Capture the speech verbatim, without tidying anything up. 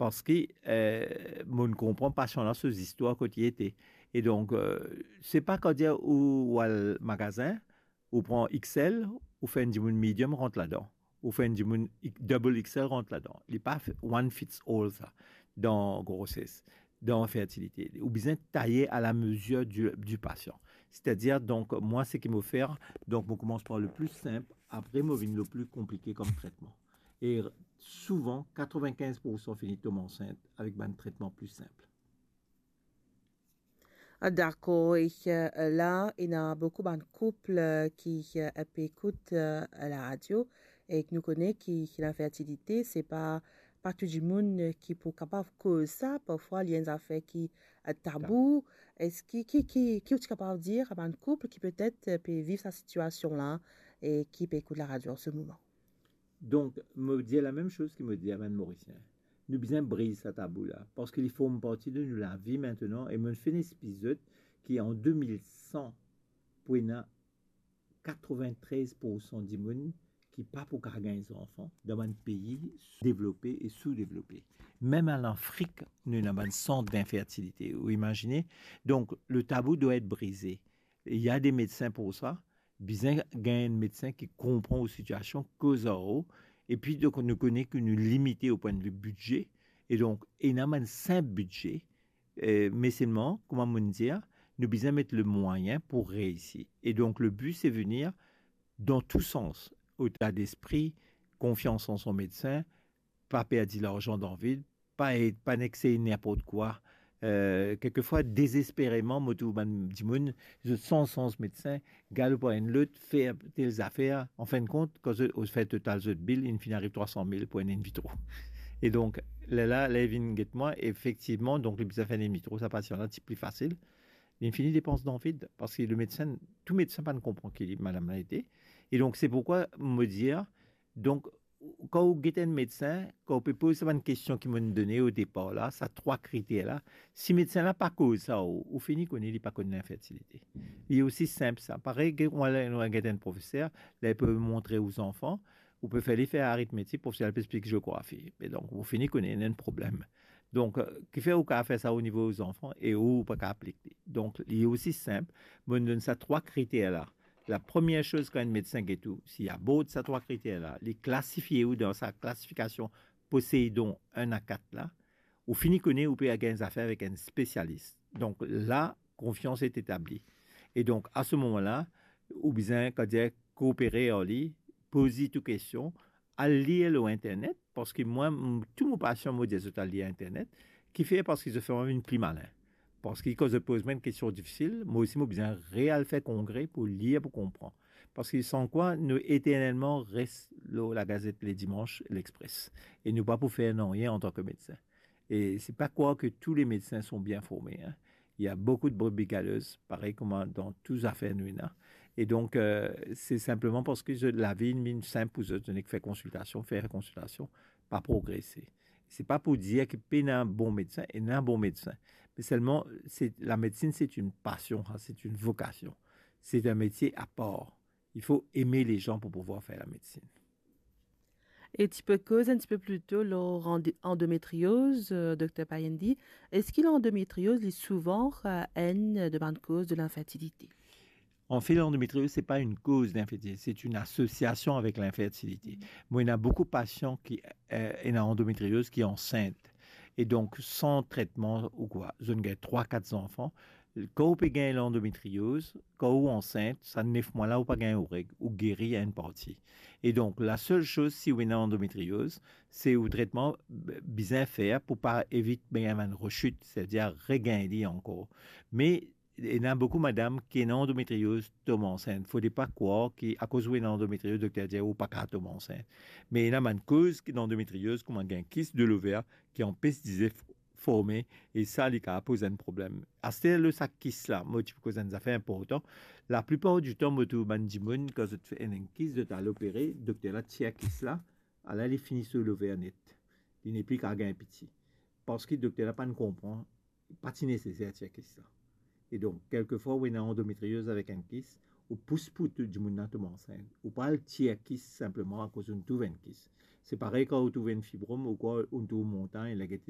Parski, eh, mo konpran pasian la so zistwar kot li ete. E donk, eh, se pa kan dir ou, ou al magazin, ou pran X L, ou fer enn dimoun medium rant ladan, ou fer enn dimoun double X L rant ladan. Li pa one fits all sa, dan groses, dan fertilite. Ou bizin taye a la mezir di, di pasian. Setadir, donk, mwa, seki mo fer, donk, mo koumans par le pli sinp, apre, mo vinn le pli konplike kom tretman. E souvan, katrevinkinz poursan fini tom ansint avek bann tretman pli sinp. Ah, dakor, e, eh, la, ena boukou bann koup, eh, ki, eh, pe ekout, eh, laradio, e nou kone ki, ki linfertilite, se pa, pa tou dimoun, eh, ki pou kapav koz sa, parfwa li enn zafer ki, eh, tabou. Eski, ki, ki, ki ou ti kapav dir a bann koup ki petet, eh, pe viv sa sitiasion la e ki pe ekout laradio an se moman? Donk, mo dir lamem soz ki mo dir a bann Morisien. Nou bizin briz sa tabou la, parski li form parti de nou lavi aster, e mo finn explik zot ki an de mil san, pou ena katrevintrez poursan dimoun ki pa pou kapav gagn zanfan dan bann pei devlope e soudevlope. Mem an Afrik, nou ena bann sant dinfertilite. Ou imazine? Donk, le tabou dwa et brize. Il y a des médecins pour ça. Bizin gagn enn medsin ki konpran ou sitiasion, koz ar ou, epi donk nou kone ki nou limite o pwin de vi bidze, e donk ena bann sinp bidze, eh, me selman, kouma mo dir, nou bizin met le mwayin pou reisi. E donk le bi se vini dan tou sans, eta despri, konfians an son medsin, pa perdi larzan dan vid, pa, pa nek sey ninport kwa. Eh, kelkefwa, dezespereman, mo trouv bann dimoun, zot sanz, sanz medsin, galop ar enn lot, fer tel zafer. An fin de kont, kan zot, o fer total zot bil, inn finn ariv trwa san mil pou enn in vitro. E donk, lerla, ler li vinn get mwa, efektivman, donk, li bizin fer in vitro, sa pasian la, ti pli fasil. Li fini depans dan vid, parski le medsin, tou medsin pa konpran ki li, madam la ete. E donk, se poukwa mo dir, donk, kan ou get enn medsin, kan ou pe poz sa bann kestion ki mo'nn done o depar la, sa trwa kriter la, si medsin la pa koz sa, ou, ou fini kone li pa konn linfertilite. Li osi sinp sa. Parey ki ou al, ou al get enn profeser, la li pe montre ou zanfan, ou pe fer li fer aritmetik, profeser la pe explik geografi. E donk, ou fini kone ena enn problem. Donk, eh, kifer ou kapav fer sa o nivo zanfan e ou pa kapav aplik li. Donk, li osi sinp, mo'nn donn sa trwa kriter la. La premie soz kan enn medsin get ou, si li abord sa trwa kriter la, li klasifie ou dan sa klasifikasion Poseidon enn a kat la, ou fini kone ou pe gagn zafer avek enn spesialis. Donk la, konfians est etabli. E donk, a se moman la, ou bizin, kan dir, koopere ar li, poz li tou kestion, al lir lor internet, parski mwa, m-, tou mo pasian, mo dir zot al lir internet, kifer, parski zot fer mwa vinn pli malin. Parski kan zot poz mwa enn kestion difisil, mwa osi mo bizin real fer kongre pou lir, pou konpran. Parski san kwa, nou eternelman res lor lagazet Ledimans, L'Express. E nou pa pou fer nanye antan ki medsin. E se pa krwar ki tou le medsin sont bien formés, hein. Il y a beaucoup de brebis galeuses, parey kouma dan tou zafer nou ena. E donk, eh, se sinpleman parski zot, lavi inn vinn sinp pou zot, zot nek fer konsiltasion, fer konsiltasion, pa progrese. Se pa pou dir ki pena bon medsin, ena bon medsin. Me selman, se, lamedsin, se enn pasion, hein, se enn vokasion. Se enn metie apar. Il faut aimer les gens pour pouvoir faire la médecine. E ti pe koz enn ti pe pli to lor ande-, andometrioz, eh, Dokter Payendi. Eski landometrioz, li souvan, eh, enn de bann koz de linfertilite? Anfet, landometrioz, se pa enn koz linfertilite, se enn asosiasion avek linfertilite. Mwa, ena boukou pasian ki, eh, ena andometrioz ki ansint. E donk, san tretman ou kwa, zot inn gagn trwa, kat zanfan. Kan ou pe gagn landometrioz, kan ou ansint, sa nef mwa la ou pa gagn ou reg, ou geri enn parti. E donk, lasel soz, si ou ena landometrioz, se ou tretman b-, bizin fer pou pa evit gagn bann resit, setadir regagn li ankor. Me ena boukou madam ki ena landometrioz tom ansint. Fode pa krwar ki akoz ou ena landometrioz, dokter dir ou pa kapav tom ansint. Me ena bann koz ki landometrioz, kouma gagn kis de lover ki anpes dize f-, forme, e sa, li kapav poz enn problem. Aster, lor sa kis la, mo ti pou koz enn zafer inportan. Laplipar ditan, mo trouv bann dimoun, kan zot fer enn kis, zot al opere, dokter la tir kis la, ala li fini so lover net. Li nepli kapav gagn piti. Parski dokter la pa'nn konpran, pa ti neseser tir kis la. E donk, kelkefwa, ou ena andometrioz avek enn kis, ou pous pou tou dimoun la tom ansint. Ou pa al tir kis sinpleman akoz ou trouv enn kis. Se parey kan ou trouv enn fibrom, ou krwar ou trouv montagn, la gete